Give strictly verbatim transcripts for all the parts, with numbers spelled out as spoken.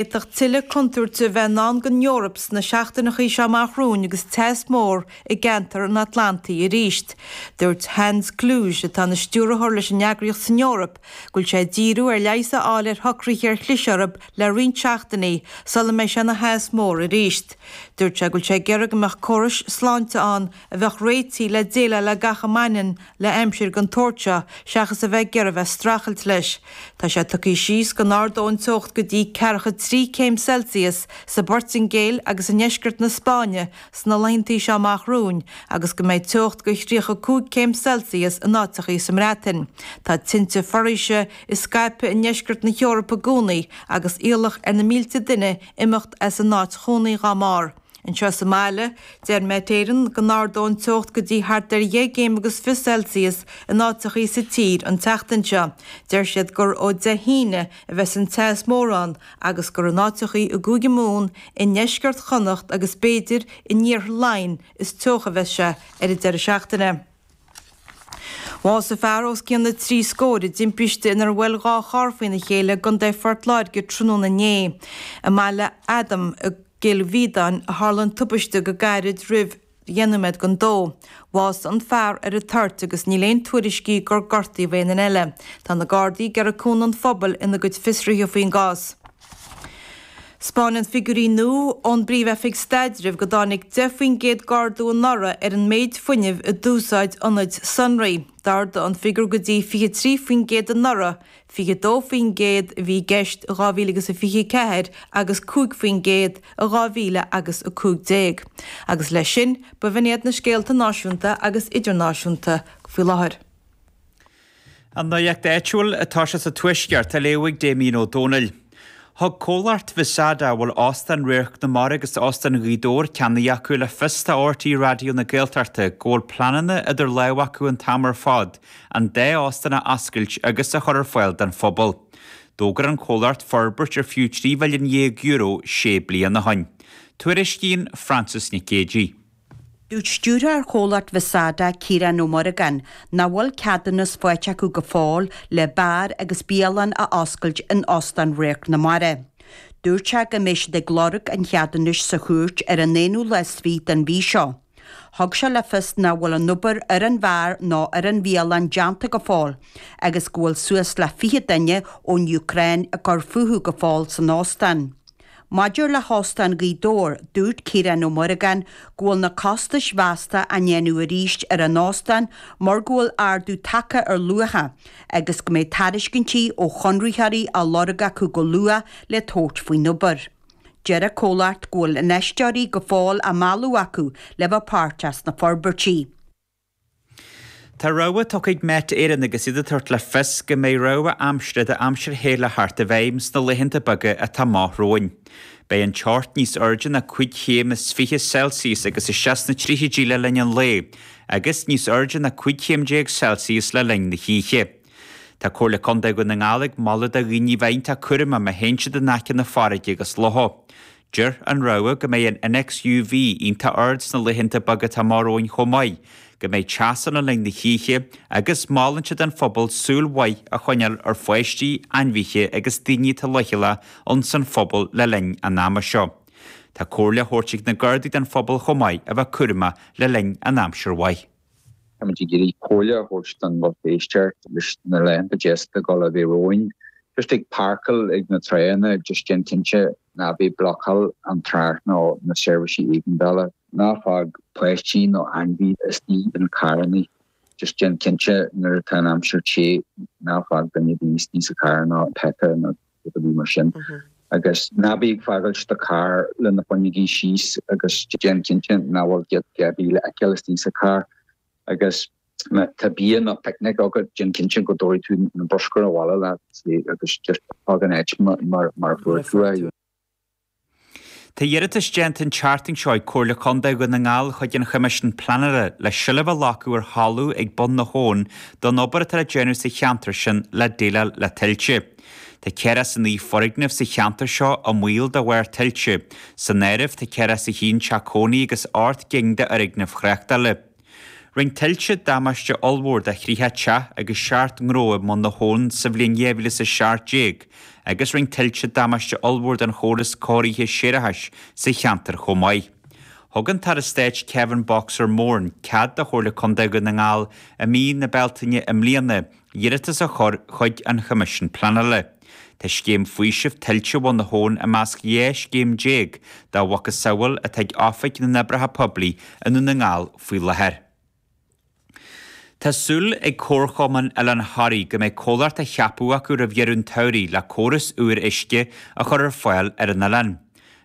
D'fhéadfadh tuilleadh contúirte a bheith i ndán don Eoraip sna seachtaineacha seo amach romhainn agus teas mór i gceantar an Atlantaigh arís. Dúirt Hans Kluge, atá ina stiúrthóir leis an eagraíocht san Eoraip, go bhfuil sé ag díriú ar leigheas a fháil ar shocruithe ar chlis orthu le roinnt seachtainí sula mbeidh sé ina theas mór arís. Dúirt sé go bhfuil sé ag iarraidh go mbeadh córais sláinte ann a bheadh réitithe le déileáil le gach a mbaineann le aimsir den tsórt seo seachas a bheith ag iarraidh bheith streachailt leis. Tá sé tugtha síos go n-ardóidh an teocht go dtí ceathracha trí céim Celsius sa bPortaingéil agus i ndeisceart na Spáinne sna laethanta seo amach romhainn agus go mbeidh teocht go thríocha cúig céim Celsius in áiteachaí sa mBreatain. Tá tinte foraoise ag scaipeadh i ndeisceart na hEorpa i gcónaí agus iallach ar na mílte duine imeacht as a n-áit chónaí dá mbarr. Anseo sa mbaile, deir Met Éireann go n-ardóidh an teocht go dtí thart ar dheich gcéim agus fiche Celsius in áiteachaí sa tír an tseachtain seo. Deir siad gur ó Dé hAoine a bheas an teas mór ann agus gur in áiteachaí i gCúige Mumhan, i ndeisceart Chonnacht agus b'fhéidir in iarthar Laighean is teocha a bheas sé ar an deireadh seachtaine. Bhásaigh fear os cionn na trí scór i dtimpiste inar bhuail dhá charr faoina chéile i gContae Phort Láirge tráthnóna inné. I mBaile Adaim i gCill Mhíodáin a tharla an tubaiste go gairid roimh dheich nóiméad don dó. Bhásaigh an fear ar an toirt agus níl aon tuairiscí gur gortaíodh aon duine eile. Tá na Gardaí ag iarraidh cúnamh an phobail ina gcuid fiosruithe faoin gcás. 'Spáineann figiúirí nua ón bPríomh-Oifig Staidrimh go dtáinig deich faoin gcéad d'ardú anuraidh ar an méid fuinnimh a d'úsáid ionaid sonraí. D'ardaigh an figiúr go dtí fiche trí faoin gcéad anuraidh, fiche dó faoin gcéad a bhí i gceist i dhá mhíle agus a fiche ceathair agus cúig faoin gcéad i dhá mhíle agus a cúig déag. Agus leis sin, ba bh'in iad na scéalta náisiúnta agus idirnáisiúnta faoi láthair. An nuacht áitiúil atá sé sa Tuaisceart á léamh ag Damien Ó Dónaill. Thug comhlacht Visada a bhfuil Óstán Radharc na Mara agus Óstán Ghaoth Dobhair ceannaithe acu le fios do RTÉ Raidió na Gaeltachta go bhfuil pleananna idir lámha acu an t-am ar fad an dá óstán a oscailt agus a chur ar fáil don phobal. D'fhógair an comhlacht forbairt ar fiú trí mhilliún dhéag euro sé bliana ó shin. Tuairiscíonn Frances Nic Géadaigh. Dúirt stiúrthóir chomhlacht Visada, Ciarán Ó Muireagáin, nach bhfuil ceadúnas faighte acu go fóill le beár agus bialann a oscailt in Óstán Radharc na Mara. Dúirt sé go mbeidh siad ag lorg an cheadúnais sa chúirt ar an aonú lá is fiche den mhí seo. Thug sé le fios nach bhfuil an obair ar an bheár nó ar an bhialann déanta go fóill agus go bhfuil suas le fiche duine ón Úcráin ag cur fúthu go fóill san óstán. Maidir le hÓstán Ghaoth Dobhair, dúirt Ciarán Ó Muireagáin go bhfuil na costais mheasta á ndéanamh arís ar an óstán mar go bhfuil ardú tagtha ar luacha agus go mbeidh tairiscintí ó chonraitheoirí á lorg acu go luath le tabhairt faoin obair. Deir an comhlacht go bhfuil infheisteoirí go fóill á mealladh acu le bheith páirteach sna forbairtí. Tá rabhadh tugtha ag Met Éireann agus iad ag tabhairt le fios go mbeidh rabhadh aimsire d'aimsir the le theacht i bhfeidhm sna laethanta beaga atá amach romhainn. Beidh an teocht níos airde ná cúig chéim is fiche Celsius agus isteach sna tríochaidí le linn an lae, agus níos airde ná cúig chéim déag Celsius le linn na hoíche. Tá Comhairle Contae Dhún na nGall ag moladh do dhaoine bheith iontach cúramach má théann siad in aice na farraige agus locha. Deir an rabhadh go mbeidh an innéacs UV iontach ard sna laethanta beaga atá amach romhainn chomh maith, go mbeidh teas ann le linn na hoíche agus molann siad don phobal súil mhaith a choinneáil ar pháistí, ainmhithe agus daoine atá leochaileach ins an phobal le linn an ama seo. Tá comhairle á thabhairt ag na Gardaí don phobal chomh maith a bheith cúramach le linn an aimsir mhaith. Táimid ag iarraidh comhairle a thabhairt don lucht éisteachta leis na laethanta deasa ag dul a bheith romhainn. Just ag páirceáil ag na tránna, just déan cinnte ná bí ag blocáil an trácht nó na seirbhísí éigeandála. Ná fág páistí nó ainmhí istigh in carranna. Just déan cinnte nuair atá an aimsir te ná fág duine ar bith istigh sa charr nó peata nó rud ar bith mar sin. Agus ná bí ag fágáilt do charr le na fuinneogaí síos agus déan cinnte nach bhfuil giota ar bith le feiceáil istigh sa charr. Agus má tá bia nó picnic agat, déan cinnte go dtabharfaidh tú na bruscar abhaile leat agus just fág an áit mar mar a fuair tú é. Tá iarratas déanta an tseachtain seo ag Comhairle Contae Dhún na nGall chuig an Choimisiún Pleanála le seilbh a ghlacadh ar thalamh ag bun na habhann don obair atá le déanamh sa cheantar sin le déileáil le tuilte. Tá ceathracha is a naoi foirgneamh sa cheantar seo i mbaol de bharr tuilte. San áireamh tá ceathracha is a haon teach cónaí agus ocht gcinn d'fhoirgnimh thráchtála. Rinne tuilte damáiste ollmhór do thríocha teach agus seacht ngnó i mBun na hAbhann sa bhliain dhá mhíle is a seacht déag agus rinne tuilte damáiste ollmhór don chóras cóirithe séarachais sa cheantar chomh maith. Thug an tAire Stáit Kevin Boxer Moran cead do Chomhairle Contae Dhún na nGall i mí na Bealtaine i mbliana iarratas a chur chuig an Choimisiún Pleanála. Tá scéim faoisimh tuilte Bhun na hAbhann i measc dhá scéim déag dá mhacasamhail atá ag Oifig na nOibreacha Poiblí i nDún na nGall faoi láthair. Tá súil ag Comharchumann Oileán Thoraí go mbeidh comhlacht á cheapadh acu roimh dheireadh an tsamhraidh le córas úr uisce a chur ar fáil ar an oileán.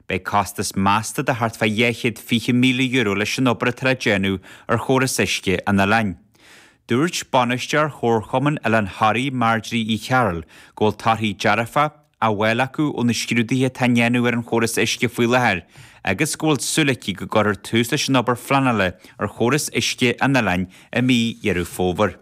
Beidh costas measta de thart fá dhá chéad fiche míle euro leis an obair atá le déanamh ar chóras uisce an oileáin. Dúirt bainisteoir Chomharchumann Oileán Thoraí, Marjorie Uí Chearúil, go bhfuil torthaí dearfa á bhfáil acu ó na scrúduithe atá á ndéanamh ar an chóras uisce faoi láthair agus go bhfuil súil aici go gcuirfear tús leis an obair phleanála ar chóras uisce an oileáin i mí Dheireadh Fómhair.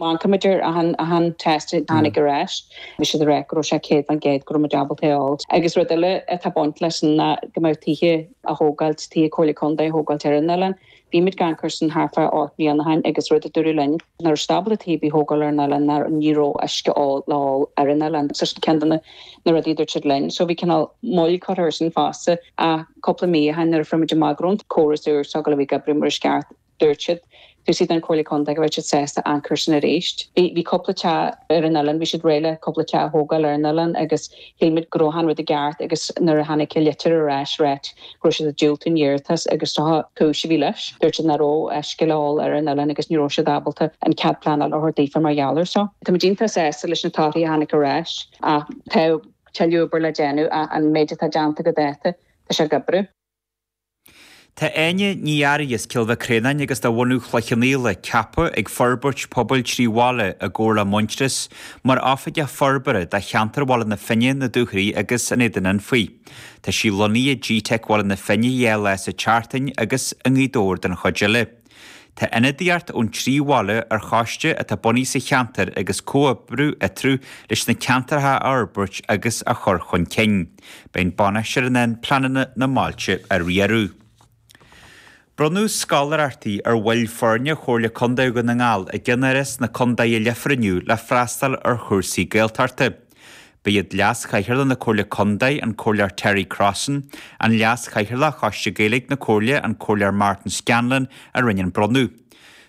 Má amharcaimid ar achan achan test a tháinig ar ais, bhí siad ag rá go raibh sé céad faoin gcéad go raibh muid ábalta é a fháil. Agus rud eile atá baint leis sin ná go mbeadh tithe á thógáilt, tithe Comhairle Contae á thógáilt ar an oileán. Bhí muid ag amharc air sin thart fá ocht mbliana ó shin agus rud a dúradh linn nach raibh siad ábalta tithe ar bith a thógáil ar an oileán ná ní raibh uisce le ól ar an oileán. So sin ceann de na na rudaí a dúirt siad linn. So bhí cineál moill curtha air sin fosta ach cúpla mí ó shin nuair a fuair muid amach go raibh an córas úr seo a bhí ag oibriú mar is ceart, dúirt siad dúirt siad don Chomhairle Contae go raibh siad sásta amharc air sin arís. Bhí bhí cúpla teach ar an oileán, bhí siad réidh le cúpla teach a thógáil ar an oileán agus shíl muid go raibh an rud i gceart agus nuair a tháinig an litir ar ais ráit go raibh siad ag diúltú an iarratas agus seo cúis a bhí leis. Dúirt siad nach raibh uisce le ól ar an oileán agus ní raibh siad ábalta an cead pleanála a thabhairt daofa mar gheall air seo. Tá muid iontach sásta leis na torthaí a tháinig ar ais ach tá tuilleadh obair le déanamh ach an méid atá déanta go dáta tá sé ag oibriú. Tá Áine Ní Fhearraigh as Cill Mhic Réanáin agus de bhunadh Chloich Cheann Fhaola ceaptha ag Forbairt Pobail Trí Bhaile i gcomhar le Muintearas mar Oifigeach Forbartha do cheantar Bhaile na Finne, na Dúchoraidhe agus an Éadain Anfaigh. Tá sí lonnaithe i gteic Bhaile na Finne dhá lá sa tseachtain agus i nGaoth Dobhair don chuid eile. Tá ionadaíocht ón trí bhaile ar choiste atá bunaithe sa cheantar agus comhoibriú eatarthu leis na ceantracha a fhorbairt agus a chur chun cinn. Beidh an bainisteoir in ann pleananna na mbailte a riaradh. Bronnadh scoláireachtaí ar bhaill foirne Chomhairle Contae Dhún na nGall i gceannáras na Contae i Leifear inniu le freastal ar chúrsaí Gaeltachta. Ba iad Leas-Chathaoirleach na Comhairle Contae, an Comhairleoir Terry Crossan, an Leas-Chathaoirleach Choiste Gaeilge na Comhairle, an Comhairleoir Martin Scanlon, a rinne an bronnadh.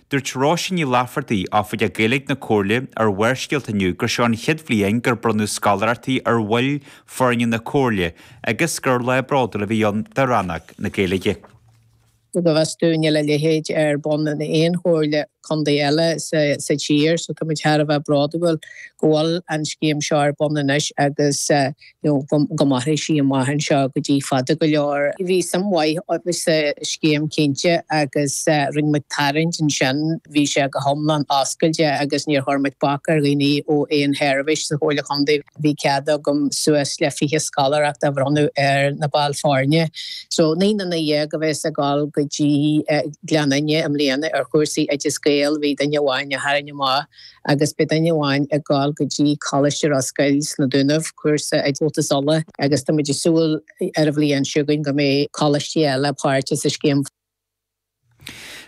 Dúirt Róisín Ní Laifeartaigh, Oifigeach Gaeilge na Comhairle, ar Bharrscéalta inniu gur seo an chéad bhliain gur bronnadh scoláireachtaí ar bhaill foirne na Comhairle agus gur lá bródúil a bhí ann do rannóg na Gaeilge. Go bhfios dúinn níl a leithéid ar bun in aon chomhairle contae eile sa tír so tá muid thar a bheith bródúil go bhfuil an scéim seo ar bun anois agus you know go mairfidh sí amach anseo go dtí fada go leor. Bhí suim mhaith sa scéim cinnte agus rinne muid tarraingt ansin, bhí sé go hiomlán oscailte agus níor chuir muid bac ar dhaoine ó aon sheirbhís sa Chomhairle Chontae. Bhí cead agam suas le fiche scoláireacht a bhronnadh ar na baill foirne. So naoi nduine dhéag a bheas ag dul go dtí Gleann Fhinne i mbliana ar chúrsaí Oideas Gael, bhí duine amháin a tharraing amach agus beidh duine amháin ag dul go dtí Coláiste Ros Goill sna Dúnaibh, cúrsa i gComhaltas Uladh agus tá muid ag súil ar an bhliain seo chugainn go mbeidh coláistí eile páirteach sa scéim.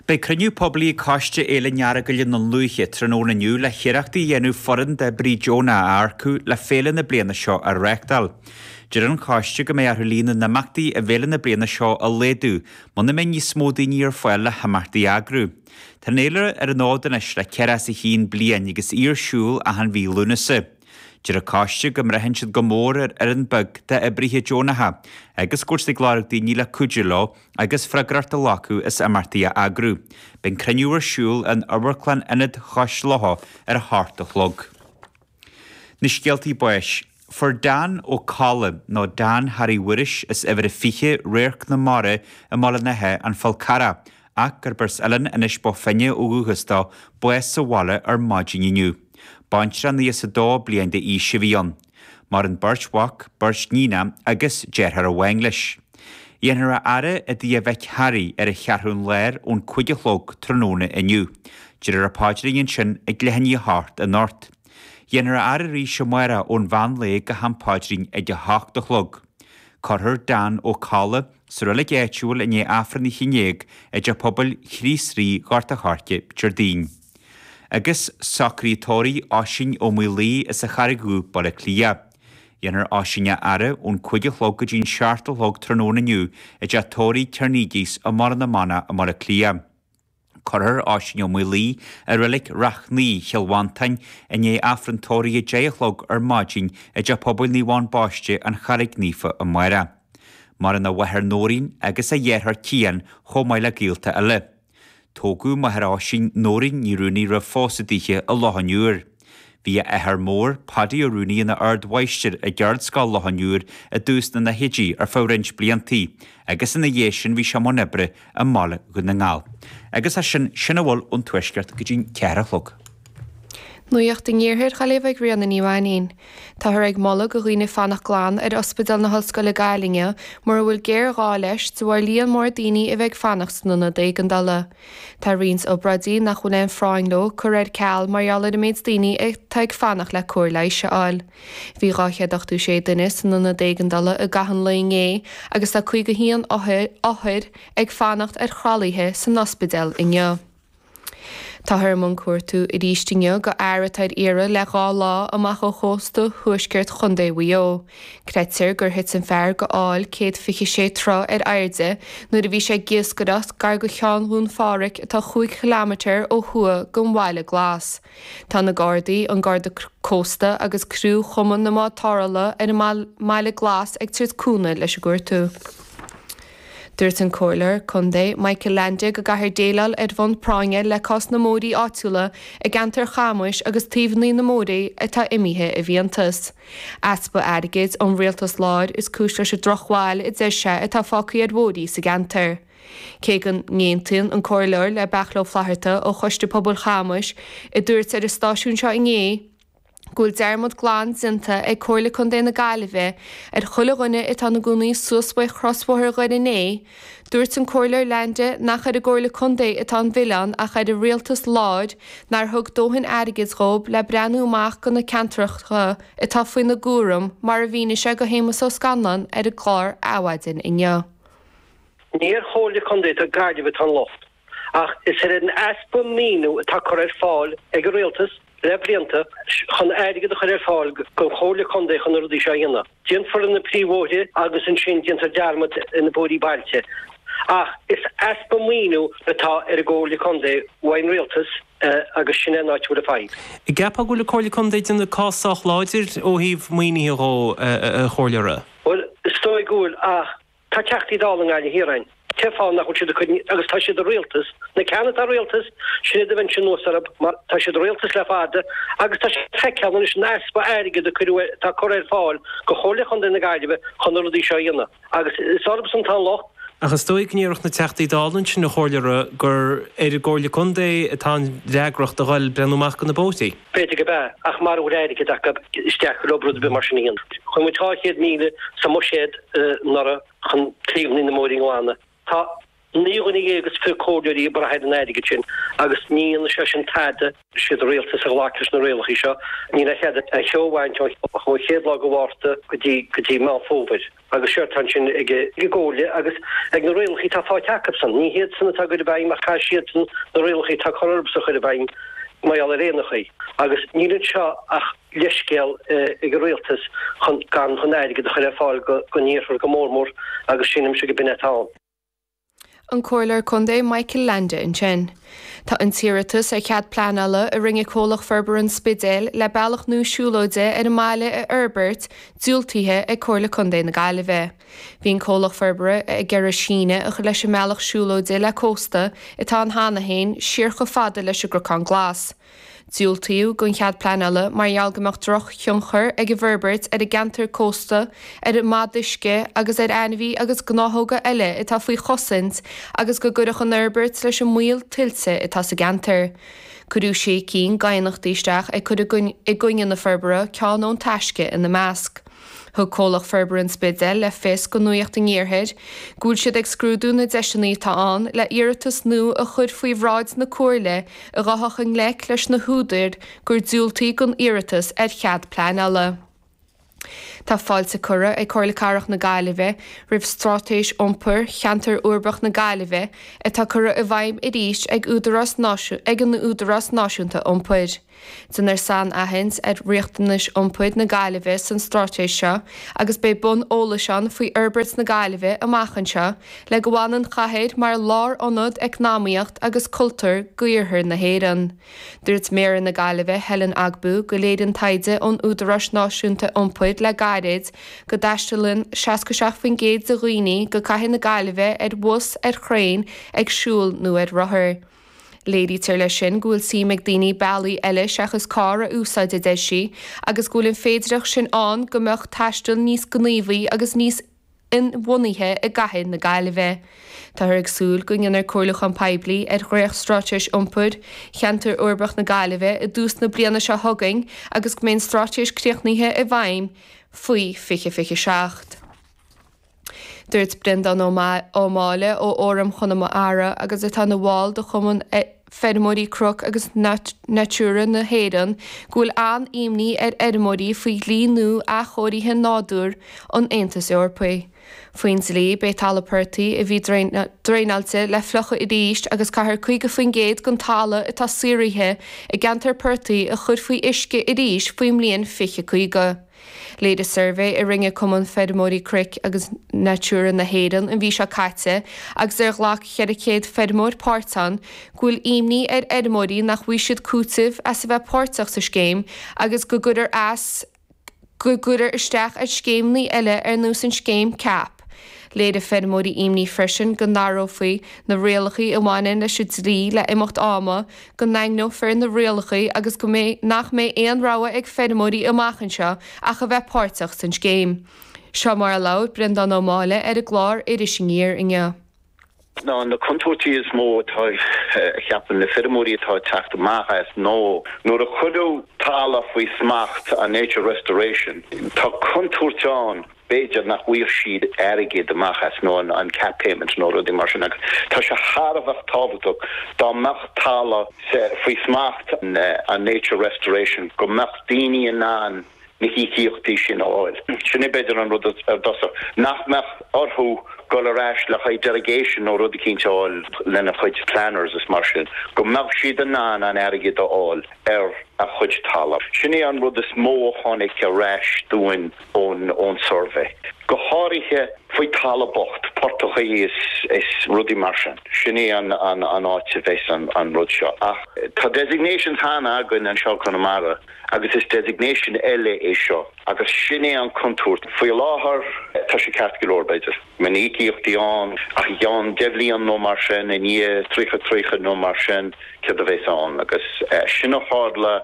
Beidh cruinniú poiblí ag Coiste Fhéile an Earagail i nDún Lúiche tráthnóna inniu le hiarrachtaí a dhéanamh foireann d'oibrithe deonacha a earcú le féile na bliana seo a reáchtáil. Deir an coiste go mbeidh orthu líon na n-imeachtaí i bhféile na bliana seo a laghdú muna mbeidh níos mó daoine ar fáil le himeachtaí a eagrú. Tá an fhéile ar an fhód anois le ceathracha is a haon bliain agus í ar siúl achan mhí Lúnasa. Deir an coiste go mbraitheann siad go mór ar fhoireann beag d'oibrithe deonacha agus go bhfuil siad ag lorg daoine le cuidiú leo agus freagracht a ghlacadh as imeachtaí a eagrú. Beidh an cruinniú ar siúl in Amharclann Ionad Chois Locha ar a hocht a chlog. Na scéaltaí báis. Fuair Dan Ó Colla, nó Dan Harry Mhuiris as uimhir a fiche, Radharc na Mara i mBaile an Átha, An Fál Carrach, ach gurb as Oileán Inis Bó Finne ó dhúchas dó, bás sa bhaile ar maidin inniu. Baintreach nócha is a dó bliain d'aois a bhí ann. Maireann beirt mhac, beirt níonacha agus deartháir amháin leis. Dhéanfar a fhaire i dtigh a mhic Harry ar an Cheathrún Láir ón cúig a chlog tráthnóna inniu. Déarfar an paidrín ansin ag leath i ndiaidh a hocht anocht. Dhéanfar a fhaire arís amárach ón mheán lae go ham paidrín ag a hocht a chlog. Cuirfear Dan Ó Cadhla sa reilig áitiúil i ndiaidh Aifreann a haon déag i dTeach Pobail Chríost Rí, Gort a' Choirce, Déardaoin. Agus socruithe tórraimh Oisín Ó Maolaodha as an Charraig Dhubh, Baile Átha Cliath. Dhéanfar Oisín a fhaire ón cúig a chlog go dtí an seacht a chlog tráthnóna inniu i dteach tórraimh Tierney's i mBaile na Manach i mBaile Átha Cliath. Cuirfear Oisín Ó Maolaodha i reilig Ráth Cnaí, Chill Mhantáin, i ndiaidh Aifreann tórraimh a deich a chlog ar maidin i dTeach Pobail Naomh Eoin Baiste, An Charraig Naofa amárach. Maireann a mháthair Nóirín agus a dheartháir Cian chomh maith le gaolta eile. Tógadh máthair Oisín, Nóirín Ní Rúnaí roimh phósadh daoithe i Loch an Iúir. Bhí a athair mór, Paddy Ó Rúnaí ina ardmháistir i gCeardscoil Loch an Iúir i dtús na ndaichidí ar feadh roinnt bliantaí agus ina dhiaidh sin bhí sé i mbun oibre i mBaile Dhún na nGall. Agus as sin, sin a bhfuil ón Tuaisceart go dtí'n ceathair a chlog. Nuacht an Iarthair á léamh ag Ríona Ní Mhainín. Táthar ag moladh do dhaoine fanacht glan ar Ospidéal na hOllscoile Gaillimhe mura bhfuil géarghá leis de bharr líon mór daoine a bheith ag fanacht san ionad éigeandála. Tá roinnt obráidí nach bhfuil aon phráinn leo curtha ar ceal mar gheall ar an méid daoine atá ag fanacht le cóir leighis a fháil. Bhí dhá chéad ochtó sé duine san ionad éigeandála i gcaitheamh an lae inné agus tá caoga haon othar ag fanacht ar thralaithe san ospidéal inniu. Táthar i mbun cuartú arís inniu do fhear atá ar iarraidh le dhá lá amach ó chósta thuaisceart Chontae Mhaigh Eo. Creidtear gur thit an fear go aill céad fiche sé troigh ar airde nuair a bhí sé ag iascaireacht gar do Cheann Dhún Phádraig atá chúig chileámeter ó thuaidh den Bhaile Glas. Tá na Gardaí, an Garda Cósta agus criú Chumann na mBád Tarrthála ar an mBaile Glas ag tabhairt cúnamh leis an gcuartú. Dúirt an Comhairleoir Contae Michael Leainde go gcaithfear déileáil ar bhonn práinne le cás na mbóithrí áitiúla i gceantar Chamuis agus taobhanna na mbóithrí atá imithe i bhfiántas. Easpa airgid ón rialtas láir is cúis leis an drochbhail a deir sé atá fágtha ar bhóithrí sa gceantar. Cé go n-aontaíonn an Comhairleoir le Beairtle Ó Flatharta ó Choiste Pobail Chamuis a dúirt ar an stáisiún seo inné go bhfuil dearmad glan déanta ag Comhairle Contae na Gaillimhe ar chuile dhuine atá ina gcónaí suas faoi chrosbhóthar Dhoire an Fhéich, dúirt an Comhairleoir Leainde nach ar an gComhairle Contae atá an milleán ach ar an rialtas láir nár thug dóthain airgid dhóibh le breathnú amach do na ceantracha atá faoina gcúram mar a mhínigh sé do Shéamus Ó Scanláin ar an gclár Adhmhaidin inniu. Ní ar Chomhairle Contae na Gaillimhe atá an locht ach is ar an easpa maoiniú atá curtha ar fáil ag an rialtas le blianta chun airgead a chur ar fáil don Chomhairle Contae chun na rudaí seo a dhéanamh. Déanfar na príomhbhóithre agus ansin déantar dearmad ar na bóithrí bailte. Ach is easpa maoiniú atá ar an gComhairle Contae uaidh an rialtas agus sin é an áit a bhfuil an fadhb. An gceapfá go bhfuil an Comhairle Contae ag déanamh cás sách láidir ó thaobh maoinithe dhó, a Chomhairleora? Bhuel, is dóigh go bhfuil ach Tá Teachtaí Dála i nGaillimh Thiar againn. Cén fáth nach bhfuil siad ag cur, agus tá siad i rialtas, na ceanna atá i rialtas, sin iad a bheinnse anuas orthu mar tá siad i rialtas le fada agus tá sé feicthe anois an easpa airgid a cuireadh, atá curtha ar fáil do Chomhairle Chontae na Gaillimhe chun na rudaí seo a dhéanamh agus is orthusan atá an locht. Ach is dóigh go ndéarfadh na Teachtaí Dála ansin, a Chomhairleora, gur ar an gComhairle Contae atá an fhreagracht a dhul breathnú amach do na bóithrí. B'fhéidir go b'ea, ach mara bhfuil airgead acu isteach leo rud ar bith mar sin a dhéanamh. Chuir muid dhá chéad míle sa mbuiséad anuraidh chun taobhanna na mbóithrí a ghlanadh. Tá naoi dhuine dhéag is fiche comhairleoirí ag brath ar an airgead sin agus ní dhéanfaidh sé sin tada. Siad an rialtas a ghlac leis na rialacha seo. Níl aon chead an cheo a bhaint ón chéad lá de Mhárta go dtí go dtí Meán Fómhair. Agus séard atá ansin ag an gComhairle agus ag na rialacha atá faighte acusan. Ní hiadsan atá á gcur i bhfeidhm ach caithfidh siadsan na rialacha atá curtha orthusan a chur i bhfeidhm mar gheall ar aon chaoi. Agus níl anseo ach leithscéal ag an rialtas chun gan chun airgead a chur ar fáil don iarthar go mór mór agus sílimse go b'in atá ann. An Comhairleoir Contae Michael Leainde ansin. Tá an t-iarratas ar chead pleanála a rinne Comhlacht Forbartha an Spidéil le bealach nua siúlóide ar an mbaile a fhorbairt diúltaithe ag Comhairle Contae na Gaillimhe. Bhí an comhlacht forbartha ag iarraidh síneadh a chur leis an mbealach siúlóide le cósta atá ann cheana féin siar chomh fada leis an gCnocán Glas. Diúltaíodh don chead pleanála mar gheall go mbeadh drochthionchar ag an bhforbairt ar an gceantar cósta, ar an mbod uisce agus ar ainmhithe agus gnáthóga eile atá faoi chosaint agus go gcuirfeadh an fhorbairt leis an mbaol tuilte atá sa gceantar. Cuireadh sé cinn d'aighneachtaí isteach ag cur i gcoinne na forbartha, ceann ón Taisce ina measc. Thug Comhlacht Forbartha an Spidéil le fios do Nuacht an Iarthair go bhfuil siad ag scrúdú na deiseanna atá ann le iarratas nua a chur faoi bhráid na Comhairle a ghabhfadh i ngleic leis na húdair gur diúltaíodh don iarratas ar chead pleanála. Tá fáilte curtha ag Comhairle Cathrach na Gaillimhe roimh Straitéis Iompair Cheantar Uirbeach na Gaillimhe atá curtha i bhfeidhm arís ag Údarás ag an Údarás Náisiúnta Iompair. Déanfar sainaithint ar riachtanais iompair na Gaillimhe san straitéis seo agus beidh bonn eolais ann faoi fhorbairt na Gaillimhe amach anseo le go bhfanann an chathair mar lárionad eacnamaíocht agus cultúir d'Iarthar na hÉireann. Dúirt Méara na Gaillimhe Helen Ogbu go léiríonn taighde ón Údarás Náisiúnta Iompair le gairid go dtaistealaíonn seasca seacht faoin gcéad de dhaoine go cathair na Gaillimhe ar bhus, ar thraein, ag siúl nó ar rothar. Léirítear leis sin go bhfuil suim ag daoine bealaí eile seachas carr a úsáid, a deir sí, agus go bhfuil an féidearthacht sin ann go mbeadh taisteal níos gníomhaí agus níos inbhuanaithe i gcathair na Gaillimhe. Táthar ag súil go ndéanfar comhairliúchán poiblí ar dhréachtstraitéis iompair Cheantar Uirbeach na Gaillimhe i dtús na bliana seo chugainn agus go mbeidh an straitéis críochnaithe i bhfeidhm faoi fiche fiche seacht. Dúirt Breandán Ó Máille ó Fhóram Chonamara agus atá ina bhall de Chumann Feirmeoirí Cnoc agus Natura na hÉireann go bhfuil an-imní ar fheirmeoirí faoi dhlí nua athchóirithe nádúir an Aontais Eorpaigh. Faoin dlí, beidh talamh portaigh a bhí draenáilte le fliuchadh arís agus caithfear caoga faoin gcéad den talamh atá saothraithe i gceantar portaigh a chur faoi uisce arís faoin mbliain fiche caoga. Léirigh suirbhé a rinne Cumann Feirmeoirí Cnoic agus Natura na hÉireann an mhí seo caite agus ar ghlac ceithre chéad feirmeoir páirt ann go bhfuil imní ar fheirmeoirí nach bhfaighidh siad cúiteamh as a bheith páirteach sa scéim agus go gcuirfear as go gcuirfear isteach ar scéimeanna eile ar nós an scéim CAP. Léirigh feirmeoirí imní freisin go n-athrófaí na rialacha a bhaineann leis an dlí le imeacht ama, go ndaingneofar na rialacha agus go mbeidh nach mbeidh aon rogha ag feirmeoirí amach anseo ach a bheith páirteach san scéim. Seo mar a labhair Breandán Ó Máille ar an gclár Iris Aniar inniu. Ná na contúirtí is mó atá, a cheapann na feirmeoirí atá ag teacht amach as ná nuair a cuireadh talamh faoi smacht an Nature Restoration, tá contúirt ann b'fhéidir nach bhfaighidh siad airgead amach as nó an cap payment nó rudaí mar sin agus tá sé thar a bheith tábhachtach dá mbeadh talamh faoi smacht an Nature Restoration go mbeadh daoine in ann na híocaíochtaí sin a fháil. Sin é b'fhéidir an rud ar dtosach, nach mbeadh orthu dul ar ais le haghaidh derogation nó rud eicínt a fháil lena chuid planners is mar sin, go mbeadh siad in ann an airgead a fháil ar a chuid talamh. Sin é an rud is mó a tháinig ar ais dúinn ón ón suirbhé. Go háirithe faoi talamh bocht, portachaí is is rudaí mar sin. Sin é an an an áit a bheas an an rud seo. Ach tá designations cheana againn anseo i Conamara agus is designation eile é seo agus sin é an contúirt. Faoi láthair tá sé ceart go leor b'fhéidir. Mbeidh na híocaíochtaí ann ach i gceann deich bhliain nó mar sin, i ndiaidh tríocha tríocha nó mar sin, céard a bheas ann? Agus sin a tharla,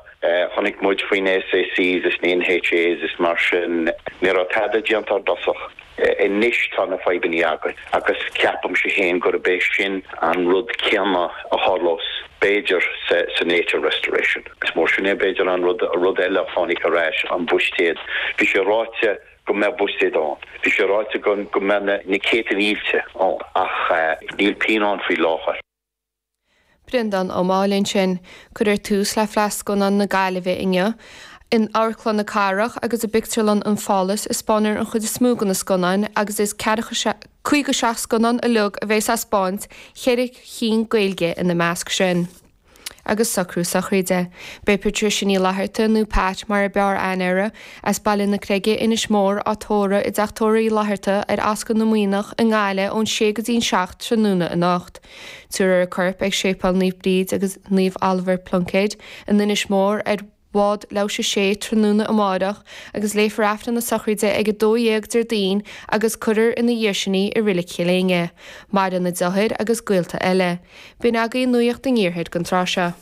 chonaic muid faoi na SACs is na NHAs is mar sin, ní raibh tada déanta ar dtosach. Anois tá na fadhbanna againn agus ceapaimse féin gurb é sin an rud céanna a tharlós b'fhéidir sa nature restoration. Is mór sin é b'fhéidir an rud rud eile a tháinig ar ais, an buiséad. Bhí sé ráite go mbeadh buiséad ann. Bhí sé ráite go go mbeadh na na céadta mílte ann ach níl pingin ann faoi láthair. Breandán Ó Máille ansin. Cuirfear tús le Fleadh Scannán na Gaillimhe inniu. In Amharclann na Cathrach agus i bPictiúrlann an Phálas a 'spáinfear an chuid is mó de na scannáin agus is caoga seacht scannán uilig a bheas á 'spáint, ceithre chinn Gaeilge ina measc sin. Agus socrú sochraide. Beidh Patricia Ní Fhlatharta, nó Pat mar a b'fhearr aithne uirthi, as Baile na Creige, Inis Mór, á tórramh i dTeach Tórraimh Uí Fhlatharta ar Ascaill na Maonach i nGaillimh ón sé go dtí an seacht tráthnóna anocht. Tabharfar a corp ag Séipéal Naomh Bríd agus Naomh Oliver Pluincéid in Inis Mór ar bhád leathuair tar éis a sé tráthnóna amárach agus léifear Aifreann na sochraide ag a dó dhéag Déardaoin agus cuirfear ina dhiaidh sin í i Reilig Chill Éinne. Maireann a deartháir agus gaolta eile. B'in agaibh Nuacht an Iarthair don tráth seo.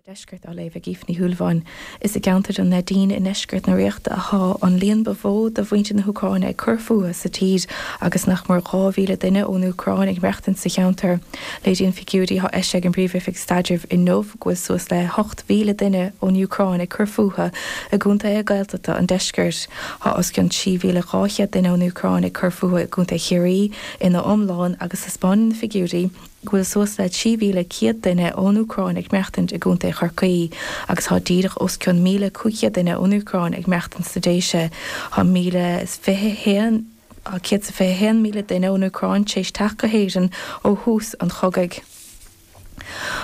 Deisceart á léamh ag Aoife Ní Shúilleabháin. Is i gceantar an Neidín i ndeisceart na Ríochta atá an líon ba mhó de mhuintir na hÚcráine ag cur fúthu sa tír agus nach mór dhá mhíle duine ón Úcráin ag maireachtaint sa cheantar. Léiríonn figiúirí atá eisithe ag an bPríomh-Oifig Staidrimh inniu go bhfuil suas le hocht mhíle duine ón Úcráin ag cur fúthu i gcontaetha Gaeltachta an deiscirt. Tá os cionn trí mhíle dhá chéad duine ón Úcráin ag cur fúthu i gContae Chiarraí ina iomlán agus taispeánann na figiúirí go bhfuil suas le trí mhíle céad duine ón Úcráin ag maireachtaint i gContae Chorcaí agus tá díreach os cionn míle cúig chéad duine ón Úcráin ag maireachtaint sna Déise. Tá míle is fiche haon tá céad is fiche haon míle duine ón Úcráin tar éis teacht go hÉirinn ó thús an chogaidh.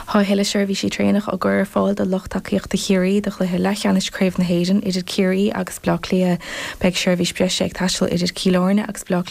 Tá a thuilleadh seirbhísí traenach á gcur ar fáil do lucht tacaíochta Chiarraí do chluiche leathcheannais Craobh na hÉireann idir Ciarraí agus Bleá Cliath. Beidh seirbhís breise ag taisteal idir Cill Airne agus Bleá Cliath.